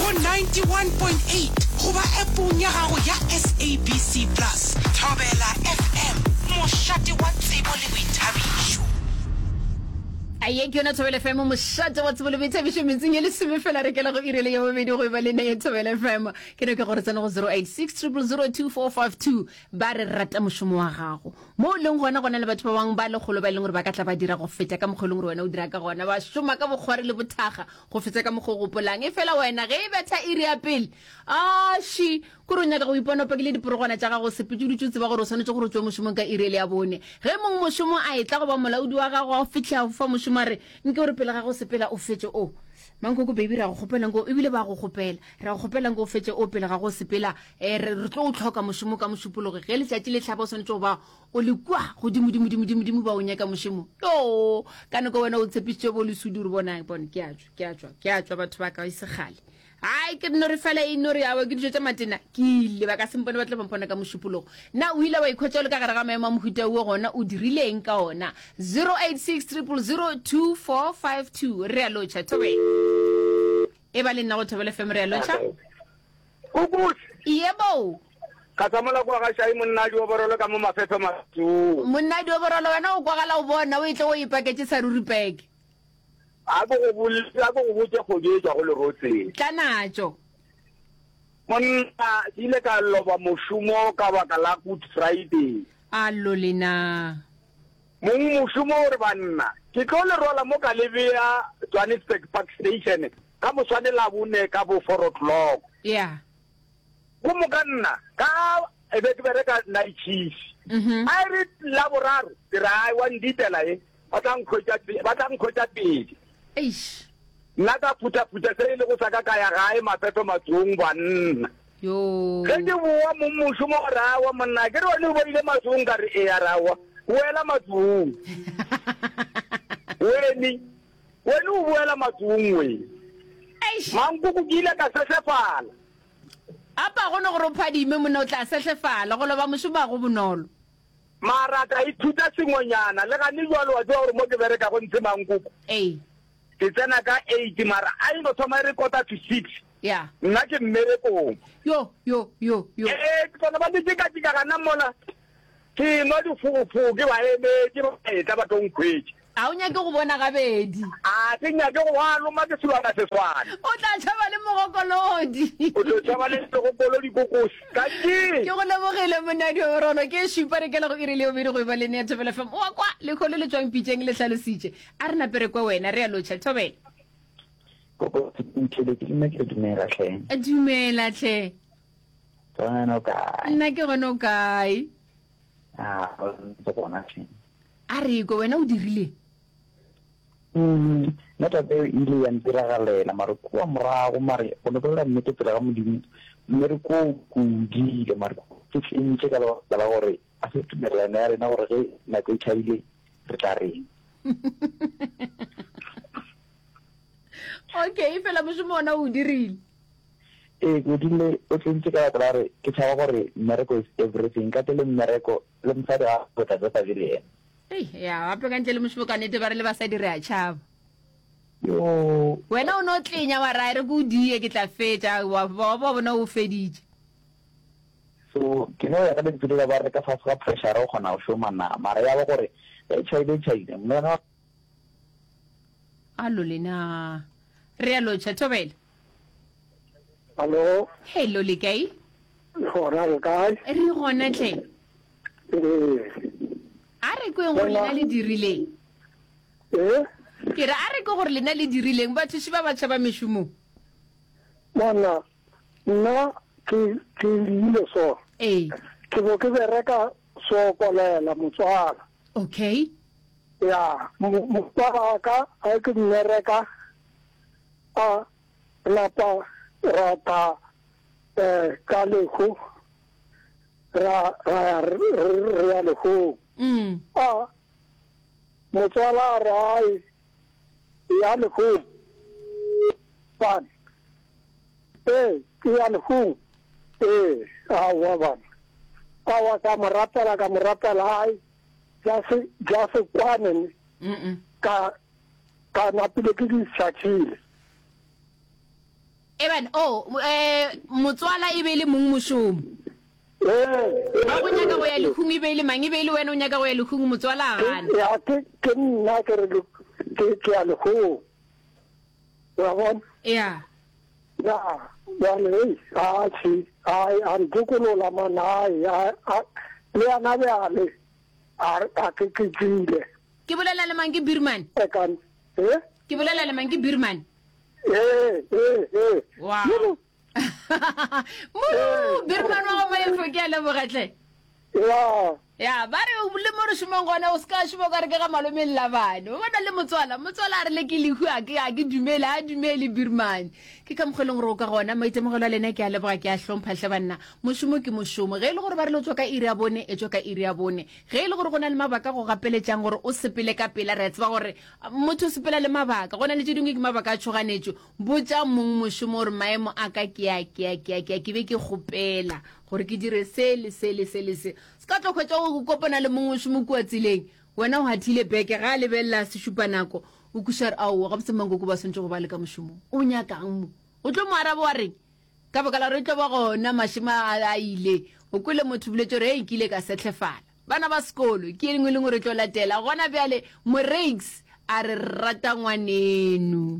Go 91.8 goba appong ya gago ya SABC Plus. Thobela FM, mošate wa tsebo le boithabišo. A ye ke yona Thobela FM, mošate wa tsebo le boithabišo metsing e lesome fela re kela go iri le ya bobedi go eba le nna ya Thobela FM. Ke no ke gore tsena go 086 000 2452 ba re rata mošomo wa gago. Mo o leng gona gona le batho ba bangwe ba lekgolo ba e leng gore ba ka tla ba dira go feta ka mokgwa e leng gore wena o dira ka gona, ba šoma ka bokgwari le bothaga go feta ka mokgwa o gopolang. Efela wena ge e betha iri ya pele, aši, kore o nyaka go ipona o pakile diporogwana tša gago, o sepetše o dutše o tseba gore o swanetše gore o tšwe mošomong ka iri ele ya bone. Ge mongmošomo a etla goba molaodi wa gago a fihla a go fa mošomo a re, Nke o re pele ga go sepela o fetše o. Mankoko baby ra go kgopela nko ebile ba go kgopela. Ra go kgopela nko o fetše o pele ga go sepela. Eh, re re tlo o tlhoka mošomo ka Mošupologo. Ge letšatši le hlaba o swanetše go ba o le kua godimo dimo dimo dimo dimo ba o nyaka mošomo. Yoo, ka nako wena o tshepišitše bo lesudi gore bona bone ke a tšwa, ke a tšwa, ke a tšwa batho ba ka e se kgale. Hai ke no re fela e no re awa ke dijo tša matena ke ile ba ka se mpone ba tla ba mpona ka Mošupologo. Na o ile wa ikhwetša o le ka gare ga maemo a mohuta wo gona o dirile eng ka ona? 086 000 2452 re a lotšha thobela. E ba le nna go Thobela FM re a lotšha. Kukuse. Yebo. Ka sa mola kwa ga Shai monna a dioborolo ka mo mafefe matsong. Monna a dioborolo wena o kwagala o bona o etle o ipaketše sa ruri peke. A ko go boletse, a ko go botše kgodi e tšwago lerotseng. Tla natšo. Monna, ke ile ka loba mošomo ka baka la Good Friday. Allo lena. Mong mošomo o re, Banna, ke tlo le rwala mo ka le bea Johannesburg Park Station ka moswane Labone ka bo four o'clock. Yeah. Go moka nna ka e be ke bereka night shift. A e re Laboraro ke re ai wa nditela e ba tla nkhwetša ba tla nkhwetša pele. Eish. Nna ka phuthaphutha se e lego sa ka ka ya gae mafefe matsong banna. Yoo. Ge ke boa mong mošomo a re aowa monna ke re wena o boile matsong ka re ee a re aowa boela matsong. Weni Wene o boela matsong we. Eish. Mankoko ke ile ka sehlefala. Apa go no gore o phadime monna o tla sehlefala, go loba mošomo ga go bonolo. Mara ka ithuta sengwenyana le gane bjalo wa tseba gore mo ke berekago ntshe Mankoko. Ee. Ke tsena ka eight mara a e no thoma e re quarter to six. Ya. Nna ke mmerekong. Yo yo yo yo. Ee ke bona ba ntšeka-tšeka gana mola. Ke nwa difofo, ke ba emetše, ba etla ba tlo nkhwetša. A o nyake go bona gabedi? A ke nyake go ba loma ke selwana seswana. O tla tšhaba le mogokolodi. O tlo tšhaba le mogokolodi kokosi. Dankie. Ke go lebogile monna Diorolo. Ke šupa re kela go iri le bobedi go eba le nea Thobela FM. Wa kwa lekgolo le tšwang pitšeng le hlalositše. A re nape re kwe wena re a lotšha Thobela. Koko Ntheletše le nna ke re dumela hle. Dumela hle. Tsona wena o kae? Nna ke gona o kae? Ah, ntse gona hle. A re kwe wena o dirile? Mm, nna taba eo e ile ya ntiragalela mare kua morago mare go no bolela nnete pele ga Modimo mmereko o ke o diile mare ke fentše ka lebaka la gore a se tumelelano ya rena gore ge nako e tšhabile re tla reng. Okay, fela mošomo ona o dirile. Ee, ke o dirile o tlentše ka baka la gore ke tšhaba gore mmereko is everything. Ka ntle le mmereko le mosadi ga o tla be sa be le yena. Ei, ya gape ka ntle le mošomo ka nnete ba re le basadi re a tšhaba. Yoo. Wena o no tlenya wa ra e re ke o die ke tla fetša wa wa ba bona o feditše. So ke no ya ka lentšu lela ba re ka fase ga pressure o kgona go šoma na mara ya ba gore ge e tšhaile e tšhaile mme ga Allo lena. Re a lotšha Thobela. Hallo. Hello le kae? Le gona le kae? Re gona tle. Ee. A re kweng gore lena le dirileng. Ee. Ke re a re ke gore lena le dirileng bathuši ba batšha ba mešomong. Monna nna ke ke ile so. Ee. Ke bo ke bereka so kolela motswala. Okay. Ya, motswala wa ka a ke mmereka a napa ra tla um ka lehu ra ra ya re re ya lehung. A motswala a re ai ya lehung bana ee ke ya lehung ee aowa bana aowa ka mo rapela ka mo rapela ai ja se ja se kwane ne ka ka napile ke di šakhile. Eban, oh, eh, motswala e be e le mong mošomo. Ee. Ba go nyaka go ya lehung e be e le mang? E be e le wena o nyaka go ya lehung, motswala a gana. Ya, ke, ke nna ke re ke, ke ya lehung. Wa bona? Ya. Ya, bjale, hei, atšhe, ai, a ntokolola man, ai, a, a, le yana bjale, a, a ke, ke tšwile. Ke bolela le mang? Ke Birman? Ekan, eh? Ke bolela le mang? Ke Birman? Ee, ee, ee. Wow. Muru, Birman wa go Maefo, ke a leboga hle. Ya. Ya, ba re le mo re šomang gona o se ka šoma ka re ke ga malome Labane. O bona le motswala, motswala a re le ke lehu a ke a ke dumele, a dumele Birman. Ke ka mokgwa e leng gore o ka gona maitemogelo a lena ke a leboga ke a hlompha hle banna. Mošomo ke mošomo. Ge e le gore ba re le tswa ka iri ya bone, e tswa ka iri ya bone. Ge e le gore go na le mabaka go gapeletšang gore o sepele ka pela, re a tseba gore Motho o sepela le mabaka. Go na le tše dingwe ke mabaka a tšhoganetšo. Botša mong mošomo gore maemo a ka ke a, ke a, ke a, ke a, ke be ke kgopela gore ke dire se le se le se le se. Se ka tlo hwetša o kopana le mong mošomo kua tseleng, wena o hathile beke, ga a lebelela sešupanako, o kweša gore aowa, gabotse mankoko ba swanetše go ba le ka mošomong. O nyakang mo? O tlo mo araba wa reng? Ka baka la gore e tlo ba gona mašemo a, a ile. O kwele motho boletše gore, Hei, ke ile ka sehlefala. Bana ba sekolo, ke engwe lengwe re tlo latela gona bjale. Moreiks a re rata ngwaneno.